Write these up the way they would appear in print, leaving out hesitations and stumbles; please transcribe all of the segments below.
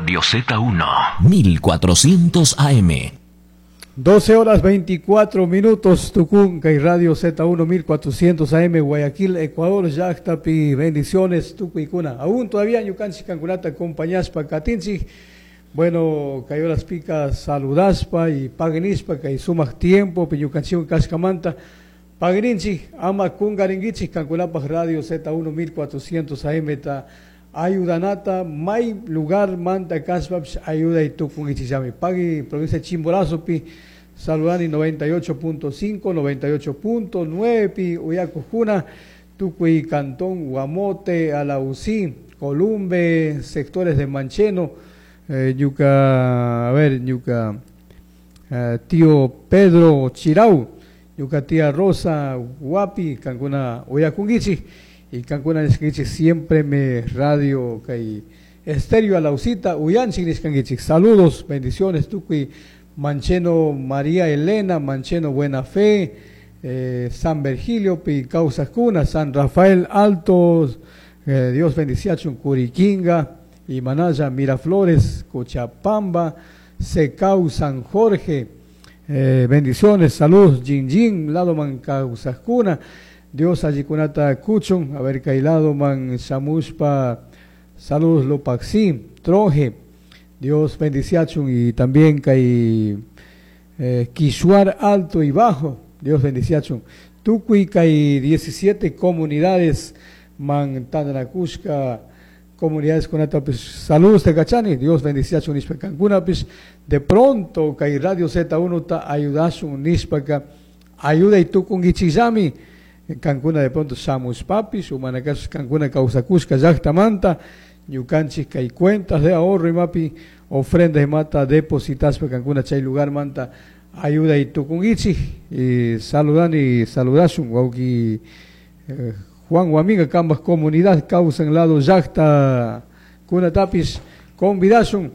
Radio Z1 1400 AM. 12 horas 24 minutos, Tucunca y Radio Z1 1400 AM, Guayaquil, Ecuador, llaktapi, bendiciones, tukuykuna. Aún todavía ñukanchik kankunata acompañaspa katinchik. Bueno, kay horas pika saludaspa y pagui nishpa kay sumak tiempo, ñukanchikwan kashkamanta. Pagui ninchik, ama kungarinkichik kankunapaj Radio Z1 1400 AM ta ayudanata, may lugar manta kashpapish ayuday tukunkichikllami. Pagui provincia de Chimborazo pi saludani 98.5, 98.9 pi uyakujuna, tukuy Cantón, Guamote, Alausí, Columbe, sectores de Mancheno, ñuka, a ver, ñuka, tío Pedro Chirau, ñuka tía Rosa Guapi, kankuna uyakunkichik, y kankuna nishkankichik siempre me radio kay estéreo Alausita, uyanchik nishkankichik. Saludos, bendiciones, tukuy Mancheno María Elena, Mancheno Buena Fe, San Virgilio, pi kawsakuna, San Rafael Alto, Dios bendiciachun, Curiquinga, y Manaya, Miraflores, Cochabamba, Secau, San Jorge, bendiciones, saludos, Jin Jin, lado man kawsakuna, Dios allikunata kuchun, a ver, kay lado man shamushpa, saludos Lopaxi, Troje, Dios bendiciachun, y también kay Quishuar Alto y Bajo, Dios bendiciachun. Tukuy kay 17 comunidades man tandanakushka, comunidades con pues, saludos de Cachani, Dios bendiciachun nishpa kankunapis. De pronto kay Radio Z1 ta ayudashun nishpaka, ayuda y tukunkichikllami, kankuna de pronto shamushpapis, umanakash kankuna kawsakushka llaktamanta, ñukanchik kay cuentas de ahorro imapi, ofrenda imata depositaspa kankuna chay lugar manta ayuda y tukunkichik, y saludan y saludashun wawki Juan Huaminga kambaj comunidad kawsan lado llakta kunatapis convidashun,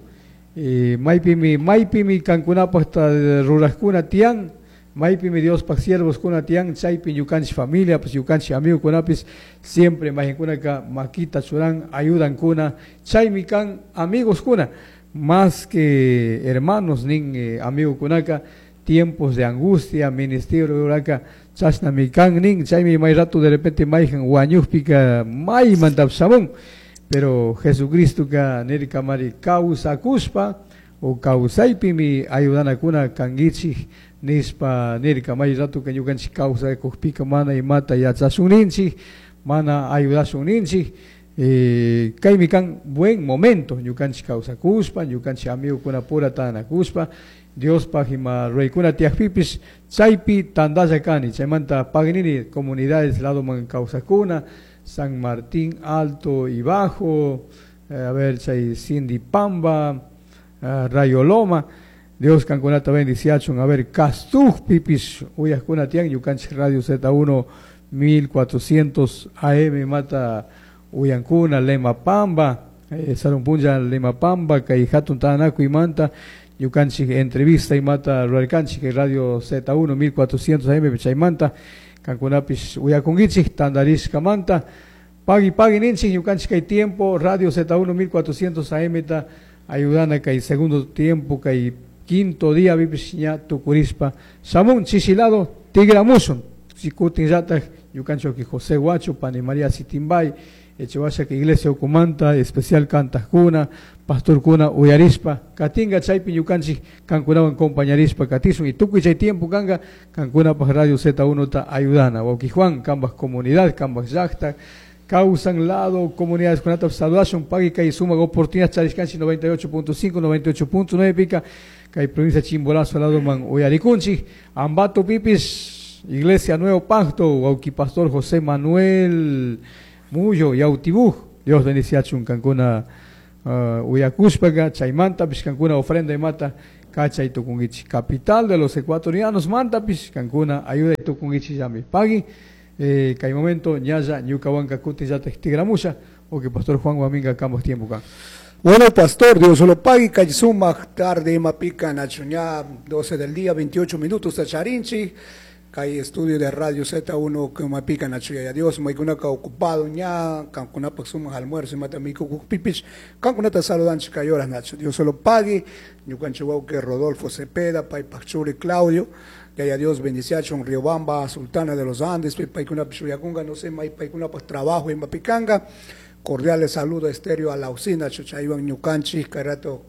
y maypimi, maypimi kankunapaj ta rurajkuna tiyan, maypimi Diospaj siervos kuna tiyan, chaypi ñukanchik familia, pues ñukanchik amigo kunapis, siempre mayqinkunaka makita churan, ayudan kuna, chaymi kan amigos kuna, más que hermanos nin amigo kunaka, tiempos de angustia, ministerio ruraka, chashnami kan nin, chaymi may rato de repente mayjan wañujpika maymanta shamun, pero Jesucristo ka nirkamari kawsakushpa o kawsaypimi ayudanakuna kankichik nishpa nirka, may rato ka ñukanchik kawsakujpika mana imata yachashun ninchik, mana ayudashun ninchik, kaymi kan buen momento ñukanchik kawsakushpa, ñukanchik amigokuna pura tandanakushpa, Diospaj ima ruraykuna tiyakpipis chaypi tandalla kani, chaymanta paginini comunidades lado man kawsakuna, San Martín Alto y Bajo, a ver, chay Cindy Pamba, Rayo Loma, Dios kankunata bendiciachun, a ver, Castuj pipis uyajkuna tiyan, ñukanchik Radio Z1 1400 AM mata uyankuna, Lema Pamba, Sarunpunlla Lema Pamba, kay hatun tandanakuy manta, ñukanchik entrevista imata rurarkanchik Radio Z1 1400 AM chaymanta, kankunapis uyakunkichik tandarishkamanta, pagui pagui ninchik ñukanchik kay tiempo Radio Z1 1400 AM ta ayudana kay segundo tiempo kay quinto día pipis ña tukurishpa shamun chisilado tigramushun sikutin llatak ñukanchik José Guacho Pani María Sitimbay Echewasha que iglesia ukumanta especial kantajkuna pastorkuna uyarispa katinga chaypi ñukanchik kankunawan compañarispa katisun y tukuy chay tiempo kanga kankunapaj Radio Z1 ta ayudana wawki Juan kambaj comunidad kambaj llakta kawsan lado comunidades kunata saludashun pagui kay sumak oportunidad charishkanchik 98.5 98.9 pika kay provincia Chimborazo lado man uyarikunchik Ambato pipis Iglesia Nuevo Pacto wawki pastor José Manuel Muyo Yautibuj Dios bendiciachun kankuna uyakushpaga chaymanta pish kankuna ofrenda imata kachay tukunkichik capital de los ecuatorianos manta pish kankuna ayuda tukunkichik llami pagui kay momento ñalla ñukawanka kutin llatak tigramusha o que pastor Juan Huaminga kambaj tiempo kan. Bueno, pastor, Dios lo pague, kay sumak tarde imapika nachuña 12 del día, 28 minutos, charinchi. Kay estudio de Radio Z1 kumapica nachu yaya Dios maykunaka ocupado ña kankunapak sumak almuerzo imata mikukukpipish kankunata saludanchik kay horas nachu Dios solo pague ñukanchik wawqi Rodolfo Cepeda paypak churi Claudio Yaya Dios bendiciachun Riobamba Sultana de los Andes paykunapish uyakunka no sé may paykunapak trabajo imapikanka cordiales saludos estéreo a la usina chaywan ñukanchik kay rato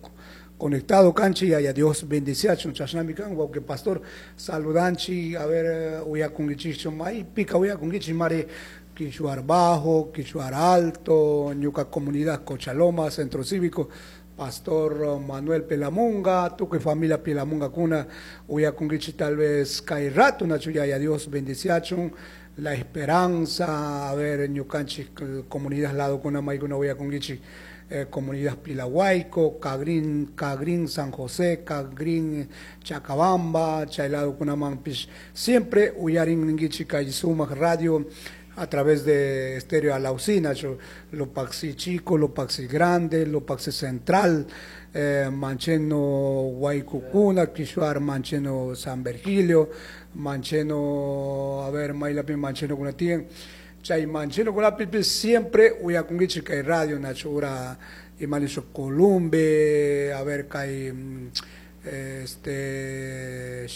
conectado kanchi yaya Dios bendiciachun chashnami kan wawqi pastor saludanchi a ver uyakunkichikchu maypika uyakunkichik mari Quishuar Bajo, Quishuar Alto, ñuka comunidad Cochaloma, Centro Cívico, Pastor Manuel Pelamunga, tukuy familia Pelamunga kuna uyakunkichik tal vez kay rato nachu yaya Dios bendiciachun La Esperanza, a ver ñukanchik comunidad lado kuna maykuna uyakunkichik comunidad Pilahuayco, Cagrín, Cagrín San José, Cagrín Chacabamba, Chaylado Kunamanpish, siempre uyarin ninkichik kay sumak radio a través de Estéreo Alausina, Lopaxi Chico, Lopaxi Grande, Lopaxi Central, Mancheno Huaycucuna, Quishuar Mancheno San Virgilio, Mancheno, a ver, Maylapi Mancheno Kunatien, Chay Mancheno Kunapipi, siempre uyakunkichik kay radio nachu ura imaniso Columbe, a ver, kay este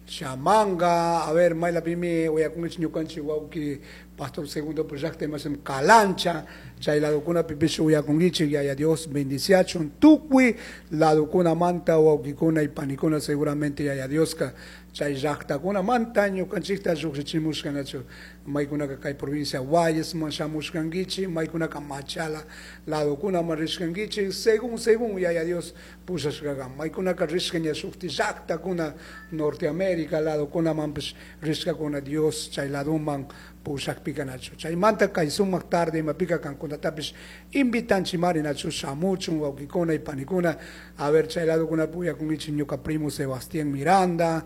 Chamanga, a ver, maylapimi uyakunkichik ñukanchik wawqi Pastor Segundo Proyecto imasem Calancha, chay ladokunapipish uyakunkichik yaya Dios bendiciachun tukuy ladokunamanta wawqikuna y panikuna seguramente yaya Dioska chay llaqtakunamanta ñukanchikta lluqshichimushka nachu maykunaka kay provincia Guayasman shamushkankichik maykunaka Machala ladokunaman rishkankichik según según yaya Dios pushashkakan maykunaka rishka ña shukti llaqtakuna Norteamérica ladokunamanpish rishkakuna Dios chay ladoman pushakpika nachu chaymanta kay sumak tarde imapika kankunatapish invitanchimari nachu shamuchun wawqikuna y panikuna a ver chay ladokunapi uyakunkichik ñuka primo Sebastián Miranda,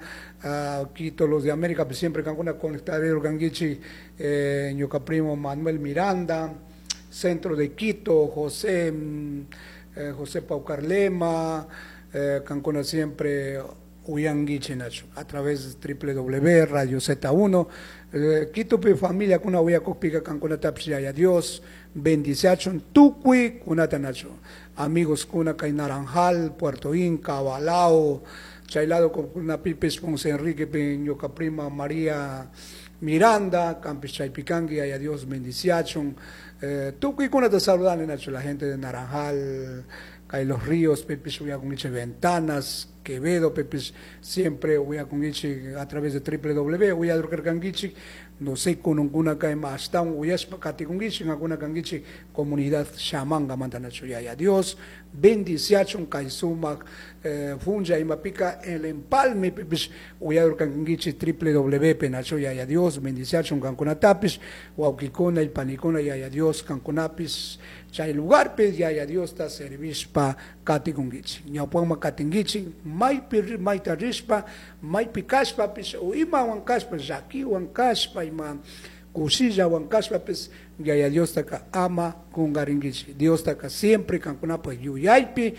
Quito los de América pues siempre kankuna conectadero kankichik ñuka primo Manuel Miranda, centro de Quito, José, José Paucarlema, kankuna siempre uyankichik nachu a través de www Radio Z1, Quito pi familia kuna uyakukpika kankunatapish yaya Dios bendiciachun tukuy kunata nachu amigos kuna kay Naranjal, Puerto Inca, Balao, chay lado kunapipis Ponce Enrique pi ñuka prima María Miranda, campis chaypikanki yaya Dios bendiciachun, tukuy kunata saludani nachu la gente de Naranjal, kay Los Ríos, pipis uyakunkichik Ventanas, Quevedo, pipis siempre uyakunkichik a través de www uyadurkarkankichik, no sé kununkuna kay ashtawan uyashpa katikunkichik kankuna kankichik comunidad Chamanga manta nachu yaya Dios bendiciachun kay sumak funcha imapika el empalme pipis uyadurkankichik www pe nachu yaya Dios bendiciachun kankunatapis wawqikuna y panikuna yaya Dios kankunapis chay lugarpi yaya Diosta servishpa katikunkichik ñawpakman katinkichik maypi mayta rishpa maypi kashpapis o imawan kashpa llakiwan kashpa ima kushillawan kashpapis yaya Diostaka ama kunkarinkichik Diostaka siempre kankunapak yuyaypi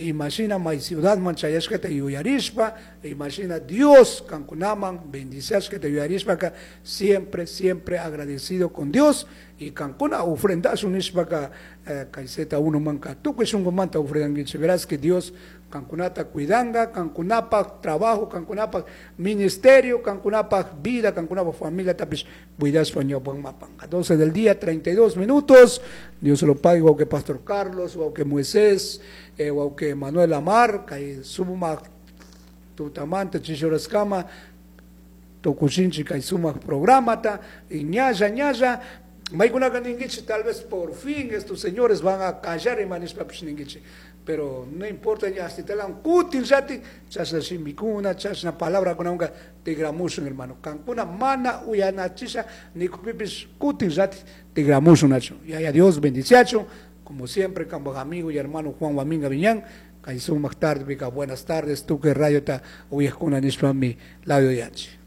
imashina may ciudadman chayashkata yuyarishpa imashina Dios kankunaman bendiciashkata yuyarishpaka siempre siempre agradecido con Dios y kankuna ofrendashun nishpaka kay Z1 manka tukuy shunkumanta ofrendankichik verás que Dios kankunata cuidanga, kankunapak trabajo, kankunapak ministerio, kankunapak vida, kankunapak familia tapish cuidashpa ñawpak mapanka. 12 del día, 32 minutos. Dios se lo pague, que Pastor Carlos, que Moisés, que Manuel Amar, kay sumak tutamanta chishuraskama tukuchinchik kay sumak programata y ñalla ñalla maykunaka ninkichik tal vez por fin estos señores van a callar y manishpapish ninkichik pero no importa ya hasta te kutin yati chashna shimikuna chashna palabra kunanka tigramushun hermano kankuna mana uyanachisha nikupipis kutin yati tigramushun nachu yaya Dios bendiciachu como siempre kampak amigo y hermano Juan Guaminga Viñán kay sumak tarde pika buenas tardes tukuy radiota uyajkuna nishpami labio yanchik.